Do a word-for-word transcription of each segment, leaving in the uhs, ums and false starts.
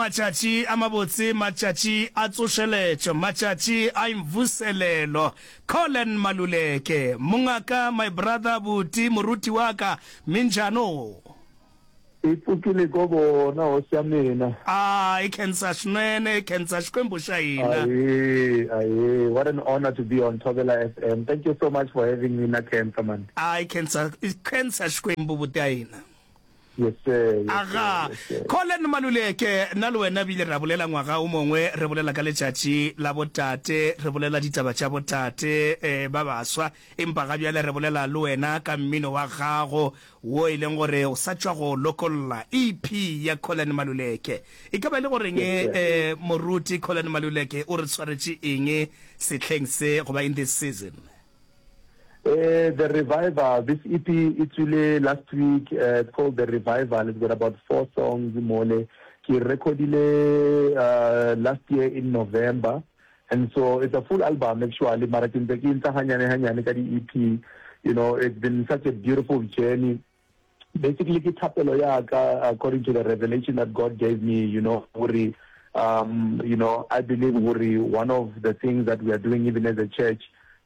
Matšatši a mabotse, matšatši a tsošeletšo, matšatši a imvuselelo. Collen Maluleke, mongaka, my brother, buti, moruti wa ka, minjano? E pfukile ko bona hosi ya mina. A i khensa swinene, hi khensa Xikwembu xa hina. Ahee, ahee, what an honor to be on Thobela F M. Thank you so much for having me na khensa man. A i khensa, i khensa Xikwembu buti ya hina. Yes sir, yes sir, Aga, yes sir. Collen Maluleke, nna le wena bile ra bolela ngwaga o mongwe, re bolela ka letšatši la botate, re bolela ditaba tša botate eh, ba baswa, empa ga bjale re bolela le wena ka mmino wa gago wo e leng gore o sa tšwa go lokolla E P ya Collen Maluleke. E ka ba e le goreng Yes sir. eh, moruti Collen Maluleke o re tshwaretše eng sehleng se goba in this season? Uh, the Revival, this E P e tswile last week, uh, it's called The Revival. It's got about four songs mole. Ke recordile uh, last year in November. And so it's a full album actually. Mara ke ntse ke ntsha hanyane hanyane ka di E P. You know, it's been such a beautiful journey. Basically ke thapelo ya ka according to the revelation that God gave me, you know, hore um, you know, I believe hore one of the things that we are doing even as a church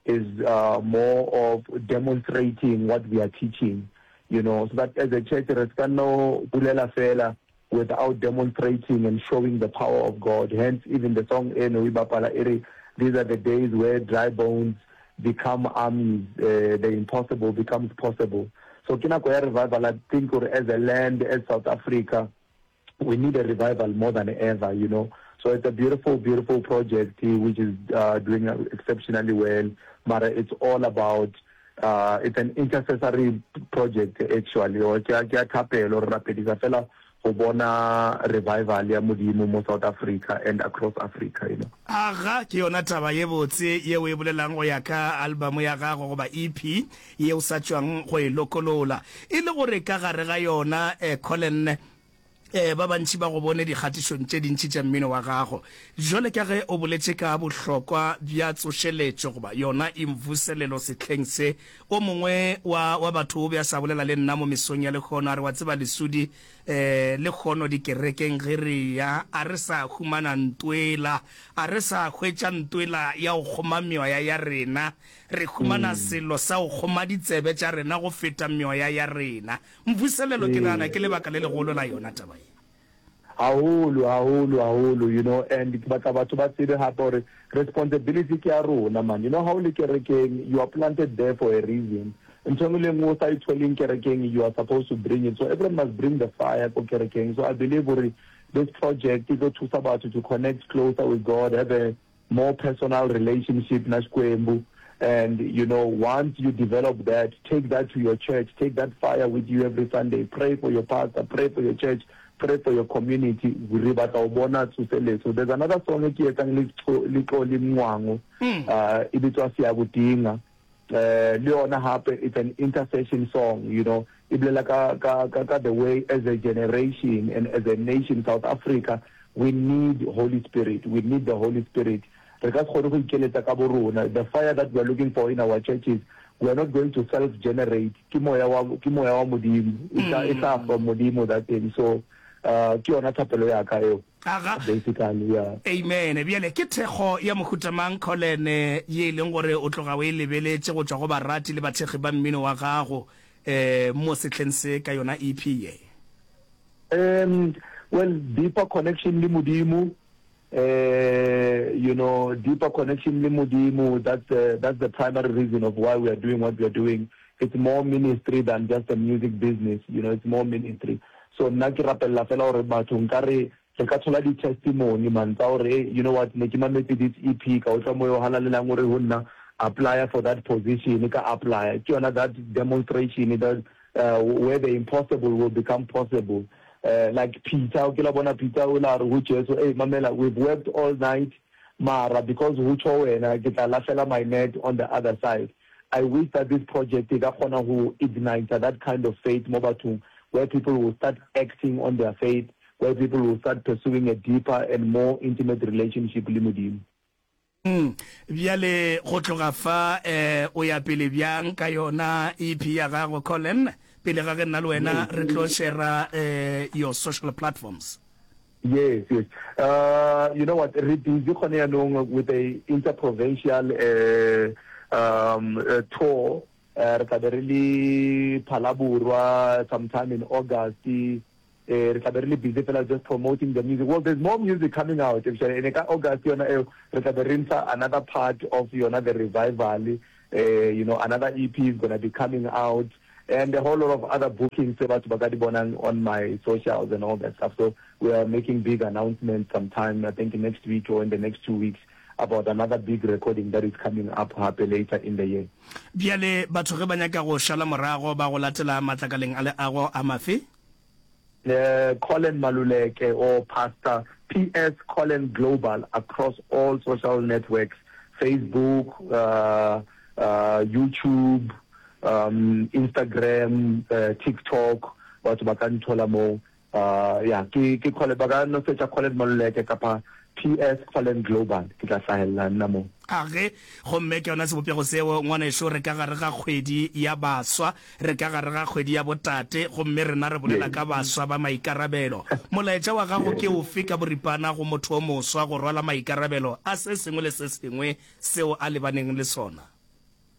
is uh, more of demonstrating what we are teaching, you know, so that as a church re ska no bulela fela without demonstrating and showing the power of God. Hence, even the song eno e bapala e re, "These are the days where dry bones become armies, uh, the impossible becomes possible." So ke nako ya revival. I think hore as a land, as South Africa, we need a revival more than ever, you know. So it's a beautiful, beautiful project eh, which is uh, doing exceptionally well. Mara, it's all about, uh, it's an intercessory project actually. Or ke a ke a thapelo, re rapedisa fela go bona revival ya Modimo mo South Africa and across Africa, you know. Aga, ke yona taba ye botse yeo e bolelang go ya ka album ya gago goba E P ye o sa tšwang go e lokolola. E le gore ka gare ga yona eh, Collen, eh, ba bantši ba go bone dikgatišong tše dintši tša mmino wa gago. Jwale ka ge o boletše ka bohlokwa bja tsošeletšo goba yona imvuselelo sehleng se, o mongwe wa, wa batho o be a sa bolela le nna mo mesong ya lekgono a re wa tseba Lesodi eh, lekgono dikerekeng ge re ya a re sa humana ntwela, a re sa hwetša ntwela ya go kgoma meoya ya rena, re humana selo sa go kgoma ditsebe tša rena go feta meoya ya rena. Mvuselelo ke nagana ke lebaka le legolo la yona taba ye. Haholo, haholo, haholo, you know, and ke batla batho ba tsebe hape hore responsibility ke ya rona man. You know, ha o le kerekeng, you are planted there for a reason. Ntho e nngwe le nngwe o sa e tholeng kerekeng, you are supposed to bring it. So everyone must bring the fire ko kerekeng. So I believe hore this project e tlo thusa batho to connect closer with God, have a more personal relationship na Xikwembu. And you know, once you develop that, take that to your church, take that fire with you every Sunday, pray for your pastor, pray for your church, pray for your community. Re batla ho bona tsoseletso. There's another song e ke etsang le le Xoli Mncwango, uh, e bitswa Siyakudinga. Uh, le yona hape it's an intercession song, you know. E bolela ka, ka, ka, ka the way as a generation and as a nation, South Africa, we need Holy Spirit. We need the Holy Spirit. Re ka se kgone go ikeletsa ka bo rona. The fire that we are looking for in our churches, we are not going to self-generate. Ke moya wa, ke moya wa Modimo. E tla, e tla from Modimo, that thing. So, uh, ke yona thapelo ya ka eo. Aga. Basically, yeah. Amen. Bjale ke thekgo ya mohuta mang Collen ye e leng gore o tloga o e lebeletše go tšwa go barati le bathekgi ba mmino wa gago eh, mo sehleng se ka yona E P ye? Um, well, deeper connection le Modimo, uh, you know, deeper connection le Modimo, that's, uh, that's the primary reason of why we are doing what we are doing. It's more ministry than just a music business, you know, it's more ministry. So nna ke rapella fela hore batho nkare re ka thola di-testimony man tsa hore, hey, you know what, ne ke mametse this E P, ka utlwa moya o halalelang o re ho nna, apply for that position, ka apply. Ke yona that demonstration that uh, where the impossible will become possible. Uh, like Peter, o ke la bona Peter o la re ho Jesu, "Hey mamela, we've worked all night, mara because ho tjho wena ke tla lahlela my net on the other side." I wish that this project e ka kgona ho ignite that kind of faith mo bathong, where people will start acting on their faith, where people will start pursuing a deeper and more intimate relationship le Modimo. Mm. Bjale go tloga fa eh, o ya pele bjang ka yona E P ya gago Collen, pele ga ge nna le wena re tlo share eh, your social platforms? Yes, yes. Uh, you know what, re busy gone yaanong with a interprovincial uh, um, uh, tour. Uh, re tla be re le Phalaborwa sometime in August. Eh, re tla be re le busy fela just promoting the music. Well, there's more music coming out actually. And ka August yona eo re tla be re ntsha another part of yona the revival. Uh, you know, another E P is gonna be coming out and a whole lot of other bookings tse batho ba ka di bonang on my socials and all that stuff. So we are making big announcements sometime, I think next week or in the next two weeks, about another big recording that is coming up hape later in the year. Bjale batho ge ba nyaka go šala morago ba go latela matlakaleng a leago a mafe? Uh, Collen Maluleke or Pastor P S Collen Global across all social networks, Facebook, uh, uh, YouTube, um, Instagram, uh, TikTok, batho ba ka nthola moo. Uh, yeah, ke ke Collen, ba ka no searcha Collen Maluleke kapa P S Collen Global, ke tla hlahella nna moo. A ge, gomme ke yona sebopego seo, ngwanešo. Re ka gare ga kgwedi ya baswa, re ka gare ga kgwedi ya botate, gomme rena re bolela ka baswa ba maikarabelo. Molaetša wa gago ke ofe ka boripana go motho o moswa go rwala maikarabelo a se sengwe le se sengwe seo a lebaneng le sona?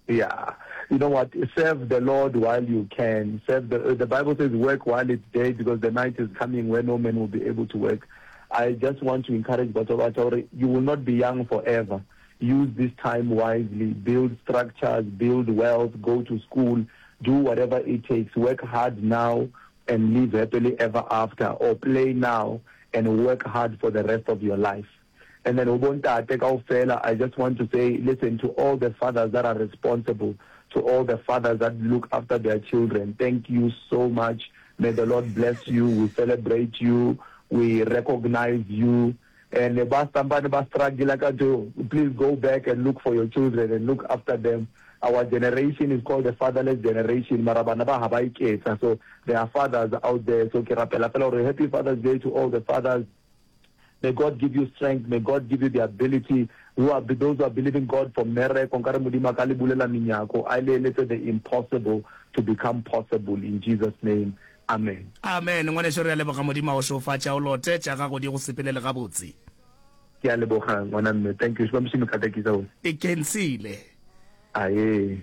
Yeah. You know what? Serve the Lord while you can. Serve the, uh, the Bible says work while it's day because the night is coming where no man will be able to work. I just want to encourage batho ba hore you will not be young forever. Use this time wisely. Build structures, build wealth, go to school, do whatever it takes. Work hard now and live happily ever after, or play now and work hard for the rest of your life. And then bontate kaofela, I just want to say, listen, to all the fathers that are responsible, to all the fathers that look after their children, thank you so much. May the Lord bless you. We celebrate you. We recognize you. And ba stampane ba struggle ka to, please go back and look for your children and look after them. Our generation is called the fatherless generation. Mara bana ba ha ba iketsa. So there are fathers out there. So ke rapela fela hore happy Father's Day to all the fathers. May God give you strength. May God give you the ability. Who are those who are believing God for miracle, nkare Modimo a ka le bulela menyako, a le eletse the impossible to become possible in Jesus' name. Amen. Amen, ngwaneso, re a leboga. Modimo a o šofatša, o lote tša gago di go sepelele gabotse. Ke a leboga, ngwana mme. Thank you. Xikwembu xi mi katekisa. E kensile. Aye.